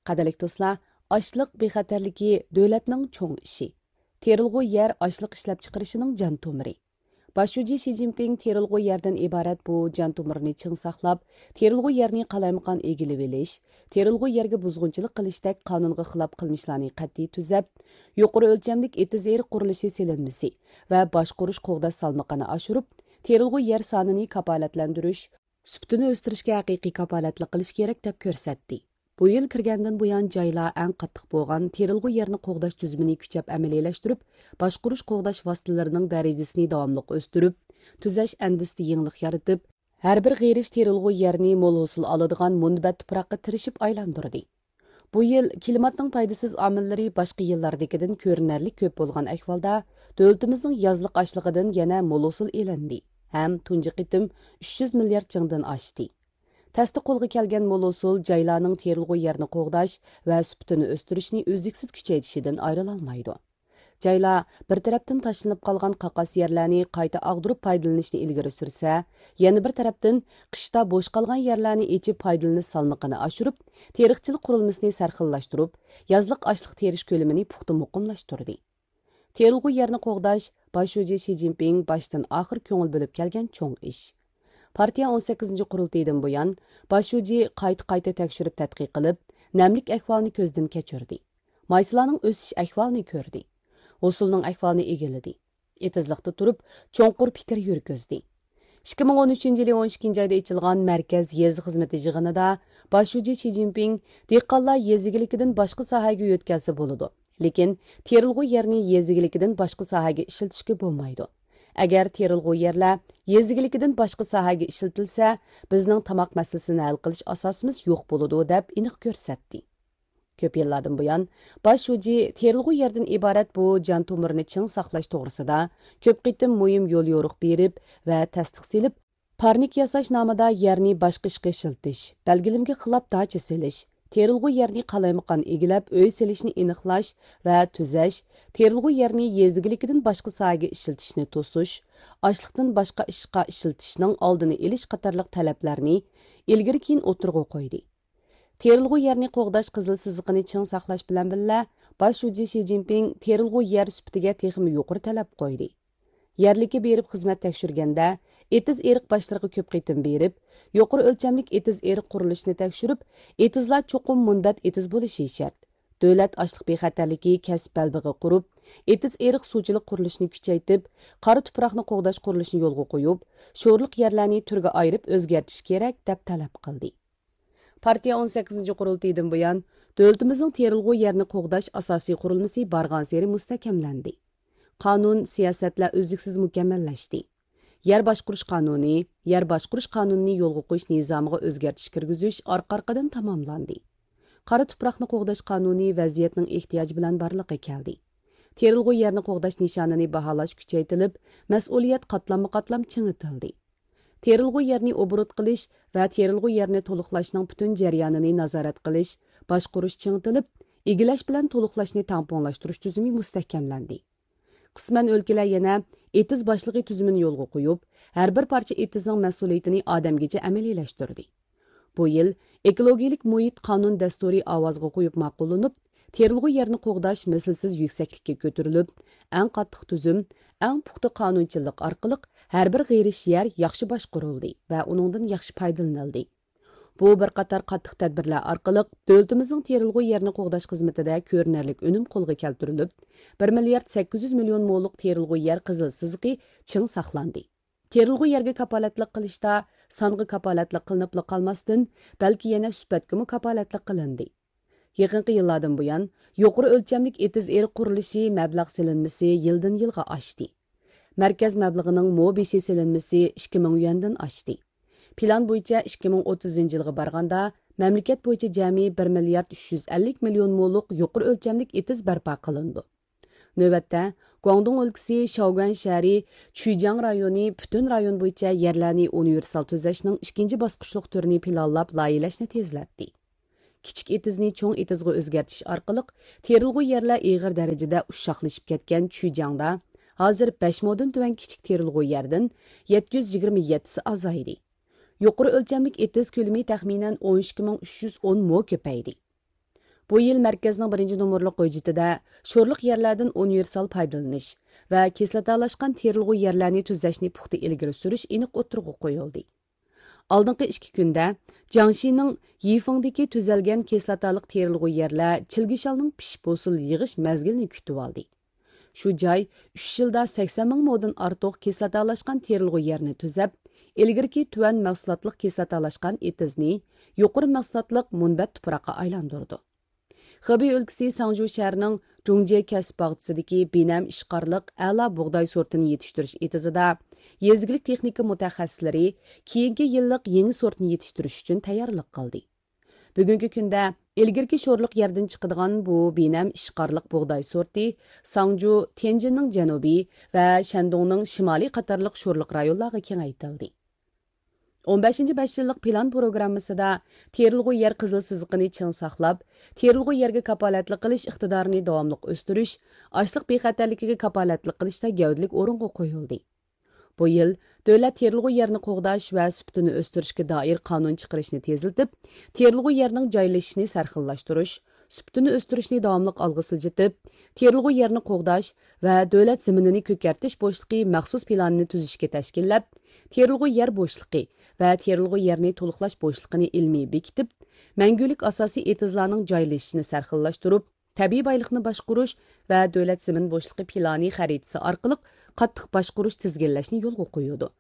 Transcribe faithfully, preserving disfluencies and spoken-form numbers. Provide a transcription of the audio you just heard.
قەدىرلىك دوستلار، ئاشلىق بىخەتەرلىكى دۆلەتنىڭ چوڭ ئىشى. تېرىلغۇ يەر ئاشلىق ئىشلەپچىقىرىشىنىڭ جان تومۇرى. باش شۇجى شى جىنپىڭ تېرىلغۇ يەردىن ئىبارەت بۇ جان تومۇرنى چىڭ ساقلاپ، تېرىلغۇ يەرنى قالايمىقان ئىگىلىۋېلىش، تېرىلغۇ يەرگە بۇزغۇنچىلىق قىلىشتەك قانۇنغا خىلاپ قىلمىشلارنى قەتئىي تۈزەپ، يۇقىرى ئۆلچەملىك ئېتىز ئېرىق قۇرۇلۇشى سېلىنمىسى ۋە باشقۇرۇش قوغداش سالمىقىنى ئاشۇرۇپ، تېرىلغۇ يەر سانىنى كاپالەتلەندۈرۈش، سۈپىتىنى ئۆستۈرۈشكە ھەقىقىي كاپالەتلىك قىلىش كېرەك، دەپ كۆرسەتتى. بۇ يىل كىرگەندىن بۇيان، جايلار ئەڭ قاتتىق بولغان تېرىلغۇ يەرنى قوغداش تۈزۈمىنى كۈچەپ ئەمەلىيلەشتۈرۈپ، باشقۇرۇش قوغداش ۋاسىتىلىرىنىڭ دەرىجىسىنى داۋاملىق ئۆستۈرۈپ، تۈزەش ئەندىزىسىدە يېڭىلىق يارىتىپ، ھەر بىر غېرىش تېرىلغۇ يەرنى مول ھوسۇل ئالىدىغان مۇنبەت تۇپراققا تىرىشىپ ئايلاندۇردى. بۇ يىل كىلىماتنىڭ پايدىسىز ئامىللىرى باشقا يىللاردىكىدىن كۆرۈنەرلىك كۆپ بولغان ئەھۋالدا، دۆلىتىمىزنىڭ يازلىق ئاشلىقىدىن يەنە مول ھوسۇل ئېلىندى ھەم تۇنجى قېتىم ئۈچ يۈز مىليارد جىڭدىن ئاشتى. تەستە قولغا كەلگەن مول ھوسۇل جايلارنىڭ تېرىلغۇ يەرنى قوغداش ۋە سۈپىتىنى ئۆستۈرۈشنى ئۈزلۈكسىز كۈچەيتىشىدىن ئايرىلالمايدۇ. جايلار بىر تەرەپتىن تاشلىنىپ قالغان قاقاس يەرلەرنى قايتا ئاغدۇرۇپ پايدىلىنىشنى ئىلگىرى سۈرسە، يەنە بىر تەرەپتىن قىشتا بوش قالغان يەرلەرنى ئېچىپ پايدىلىنىش سالمىقىنى ئاشۇرۇپ، تېرىقچىلىق قۇرۇلمىسىنى سەرخىللاشتۇرۇپ، يازلىق ئاشلىق تېرىش كۆلىمىنى پۇختا مۇقىملاشتۇردى. تېرىلغۇ يەرنى قوغداش باش شۇجى شى جىنپىڭ باشتىن ئاخىر كۆڭۈل بۆلۈپ كەلگەن چوڭ ئىش. پارتىيە ئون سەككىزىنچى قۇرۇلتىيىدىن بۇيان، باش شۇجى قايتا-قايتا تەكشۈرۈپ تەتقىق قىلىپ، نەملىك ئەھۋالىنى كۆزدىن كەچۈردى. مايسىلارنىڭ ئۆسۈش ئەھۋالىنى كۆردى. ھوسۇلنىڭ ئەھۋالىنى ئىگىلىدى. ئېتىزلىقتا تۇرۇپ، چوڭقۇر پىكىر يۈرگۈزدى. ئىككى مىڭ ئون ئۈچىنچى يىلى ئون ئىككىنچى ئايدا ئېچىلغان مەركەز يېزا خىزمىتى يىغىنىدا باش شۇجى شى جىنپىڭ دېھقانلار يېزا ئىگىلىكىدىن باشقا ساھەگە يۆتكەلسە بولىدۇ، لېكىن تېرىلغۇ يەرنى يېزا ئىگىلىكىدىن باشقا ساھەگە ئىشلىتىشكە بولمايدۇ. ئەگەر تېرىلغۇ يەرلەر يېزا ئىگىلىكىدىن باشقا ساھەگە ئىشلىتىلسە، بىزنىڭ تاماق مەسىلىسىنى ھەل قىلىش ئاساسىمىز يوق بولىدۇ، دەپ ئېنىق كۆرسەتتى. كۆپ يىللاردىن بۇيان، باش شۇجى تېرىلغۇ يەردىن ئىبارەت بۇ جان تومۇرنى چىڭ ساقلاش توغرىسىدا كۆپ قېتىم مۇھىم يوليورۇق بېرىپ ۋە تەستىق سېلىپ، پارنىك ياساش نامىدا يەرنى باشقا ئىشقا ئىشلىتىش، بەلگىلىمىگە خىلاپ داچا سېلىش، تېرىلغۇ يەرنى قالايمىقان ئىگىلەپ ئۆي سېلىشنى ئېنىقلاش ۋە تۈزەش، تېرىلغۇ يەرنى يېزا ئىگىلىكىدىن باشقا ساھەگە ئىشلىتىشنى توسۇش، ئاشلىقتىن باشقا ئىشقا ئىشلىتىشنىڭ ئالدىنى ئېلىش قاتارلىق تەلەپلەرنى ئىلگىرى كېيىن ئوتتۇرىغا قويدى. تېرىلغۇ يەرنى قوغداش قىزىل سىزىقىنى چىڭ ساقلاش بىلەن بىللە، باش شۇجى شى جىنپىڭ تېرىلغۇ يەر سۈپىتىگە تېخىمۇ يۇقىرى تەلەپ قويدى. يەرلىككە بېرىپ خىزمەت تەكشۈرگەندە، ئېتىز ئېرىق باشلىرىغا كۆپ قېتىم بېرىپ، يۇقىرى ئۆلچەملىك ئېتىز ئېرىق قۇرۇلۇشىنى تەكشۈرۈپ، ئېتىزلار چوقۇم مۇنبەت ئېتىز بولۇشى شەرت. دۆلەت ئاشلىق بىخەتەرلىكى كەسىپ بەلبېغى قۇرۇپ، ئېتىز ئېرىق سۇچىلىق قۇرۇلۇشىنى كۈچەيتىپ، قارا تۇپراقنى قوغداش قۇرۇلۇشىنى يولغا قويۇپ، شورلۇق يەرلەرنى تۈرگە ئايرىپ ئۆزگەرتىش كېرەك، دەپ تەلەپ قىلدى. پارتىيە ئون سەككىزىنچى قۇرۇلتىيىدىن بۇيان، دۆلىتىمىزنىڭ تېرىلغۇ يەرنى قوغداش ئاساسىي قۇرۇلمىسى بارغانسېرى مۇستەھكەملەندى. قانۇن، سىياسەتلەر ئۈزلۈكسىز مۇكەممەللەشتى. يەر باشقۇرۇش قانۇنى، يەر باشقۇرۇش قانۇنىنى يولغا قويۇش نىزامىغا ئۆزگەرتىش كىرگۈزۈش ئارقا-ئارقىدىن تاماملاندى. قارا تۇپراقنى قوغداش قانۇنى ۋەزىيەتنىڭ ئېھتىياجى بىلەن بارلىققا كەلدى. تېرىلغۇ يەرنى قوغداش نىشانىنى باھالاش كۈچەيتىلىپ، مەسئۇلىيەت قاتلاممۇ قاتلام چىڭىتىلدى. تېرىلغۇ يەرنى ئوبوروت قىلىش ۋە تېرىلغۇ يەرنى تولۇقلاشنىڭ پۈتۈن جەريانىنى نازارەت قىلىش، باشقۇرۇش چىڭىتىلىپ، ئىگىلەش بىلەن تولۇقلاشنى تەڭپۇڭلاشتۇرۇش تۈزۈمى مۇستەھكەملەندى. قىسمەن ئۆلكىلەر يەنە ئېتىز باشلىقى تۈزۈمىنى يولغا قويۇپ، ھەر بىر پارچە ئېتىزنىڭ مەسئۇلىيىتىنى ئادەمگىچە ئەمەلىيلەشتۈردى. بۇ يىل ئېكولوگىيەلىك مۇھىت قانۇن دەستۇرى ئاۋازغا قويۇپ ماقۇللىنىپ، تېرىلغۇ يەرنى قوغداش مىسلىسىز يۈكسەكلىككە كۆتۈرۈلۈپ، ئەڭ قاتتىق تۈزۈم، ئەڭ پۇختا قانۇنچىلىق ئارقىلىق ھەر بىر غېرىش يەر ياخشى باشقۇرۇلدى ۋە ئۇنىڭدىن ياخشى پايدىلىنىلدى. بۇ بىر قاتار قاتتىق تەدبىرلەر ئارقىلىق دۆلىتىمىزنىڭ تېرىلغۇ يەرنى قوغداش خىزمىتىدە كۆرۈنەرلىك ئۈنۈم قولغا كەلتۈرۈلۈپ، بىر مىليارد سەككىز يۈز مىليون مولۇق تېرىلغۇ يەر قىزىل سىزىقى چىڭ ساقلاندى. تېرىلغۇ يەرگە كاپالەتلىك قىلىشتا سانغا كاپالەتلىك قىلىنىپلا قالماستىن، بەلكى يەنە سۈپەتكىمۇ كاپالەتلىك قىلىندى. يېقىنقى يىللاردىن بۇيان، يۇقىرى ئۆلچەملىك ئېتىز ئېرىق قۇرۇلۇشى مەبلەغ سېلىنمىسى يىلدىن يىلغا ئاشتى. مەركەز مەبلىغىنىڭ مو بېشى سېلىنمىسى ئىككى مىڭ يۈەندىن ئاشتى. پىلان بويىچە ئىككى مىڭ ئوتتۇزىنچى يىلغا بارغاندا، مەملىكەت بويىچە جەمئىي بىر مىليارد ئۈچ يۈز ئەللىك مىليون مولۇق يۇقىرى ئۆلچەملىك ئېتىز بەرپا قىلىنىدۇ. نۆۋەتتە، گۇاڭدۇڭ ئۆلكىسى شاۋگۈەن شەھىرى چۈيجياڭ رايونى پۈتۈن رايون بويىچە يەرلەرنى ئۇنىۋېرسال تۈزەشنىڭ ئىككىنچى باسقۇچلۇق تۈرىنى پىلانلاپ لايىھەلەشنى تېزلەتتى. كىچىك ئېتىزنى چوڭ ئېتىزغا ئۆزگەرتىش ئارقىلىق تېرىلغۇ يەرلەر ئېغىر دەرىجىدە ئۇششاقلىشىپ كەتكەن چۈيجياڭدا ھازىر بەش مودىن تۆۋەن كىچىك تېرىلغۇ يەردىن يەتتە يۈز يىگىرمە يەتتىسى ئازايدى. يۇقىرى ئۆلچەملىك ئېتىز كۆلىمى تەخمىنەن ئون ئىككى مىڭ ئۈچ يۈز ئون مو كۆپەيدى. بۇ يىل مەركەزنىڭ بىرىنچى نومۇرلۇق ھۆججىتىدە شورلۇق يەرلەردىن ئۇنىۋېرسال پايدىلىنىش ۋە كىسلاتالاشقان تېرىلغۇ يەرلەرنى تۈزەشنى پۇختا ئىلگىرى سۈرۈش ئېنىق ئوتتۇرىغا قويۇلدى. ئالدىنقى ئىككى كۈندە جياڭشىنىڭ يىفېڭدىكى تۈزەلگەن كىسلاتالىق تېرىلغۇ يەرلەر چىلگە شالنىڭ پىشىپ ھوسۇل يىغىش مەزگىلىنى كۈتۈۋالدى. شۇ جاي ئۈچ يىلدا سەكسەن مىڭ مودىن ئارتۇق كىسلاتالاشقان تېرىلغۇ يەرنى تۈزەپ، ئىلگىرىكى تۆۋەن مەھسۇلاتلىق كىسلاتالاشقان ئېتىزنى يۇقىرى مەھسۇلاتلىق مۇنبەت تۇپراققا ئايلاندۇرىدۇ. خېبېي ئۆلكىسى ساڭجۇ شەھىرىنىڭ جۇڭجيې كەسىپ باغچىسىدىكى بىنەم ئىشقارلىق ئەلا بۇغداي سورتىنى يېتىشتۈرۈش ئېتىزىدا يېزا ئىگىلىك تېخنىكا مۇتەخەسسىسلىرى كېيىنكى يىللىق يېڭى سورتنى يېتىشتۈرۈش ئۈچۈن تەييارلىق قىلدى. بۈگۈنكى كۈندە ئىلگىرىكى شورلۇق يەردىن چىقىدىغان بۇ بىنەم ئىشقارلىق بۇغداي سورتى ساڭجۇ، تيەنجىننىڭ جەنۇبى ۋە شەندۇڭنىڭ شىمالى قاتارلىق شورلۇق رايونلارغا كېڭەيتىلدى. ئون بەشىنچى بەش يىللىق پىلان پروگراممىسىدا تېرىلغۇ يەر قىزىل سىزىقىنى چىڭ ساقلاپ، تېرىلغۇ يەرگە كاپالەتلىك قىلىش ئىقتىدارىنى داۋاملىق ئۆستۈرۈش، ئاشلىق بىخەتەرلىكىگە كاپالەتلىك قىلىشتا گەۋدىلىك ئورۇنغا قويۇلدى. بۇ يىل دۆلەت تېرىلغۇ يەرنى قوغداش ۋە سۈپىتىنى ئۆستۈرۈشكە دائىر قانۇن چىقىرىشنى تېزلىتىپ، تېرىلغۇ يەرنىڭ جايلىشىشىنى سەرخىللاشتۇرۇش، سۈپىتىنى ئۆستۈرۈشنى داۋاملىق ئالغا سىلجىتىپ، تېرىلغۇ يەرنى قوغداش ۋە دۆلەت زېمىنىنى كۆكەرتىش بوشلۇقى مەخسۇس پىلانىنى تۈزۈشكە تەشكىللەپ، تېرىلغۇ يەر بوشلۇقى ۋە تېرىلغۇ يەرنى تولۇقلاش بوشلۇقىنى ئىلمىي بېكىتىپ، مەڭگۈلۈك ئاساسىي ئېتىزلارنىڭ جايلىشىشىنى سەرخىللاشتۇرۇپ، تەبىئىي بايلىقنى باشقۇرۇش ۋە دۆلەت زېمىن بوشلۇقى پىلانى خەرىتىسى ئارقىلىق قاتتىق باشقۇرۇش، تىزگىنلەشنى يولغا قويىدۇ.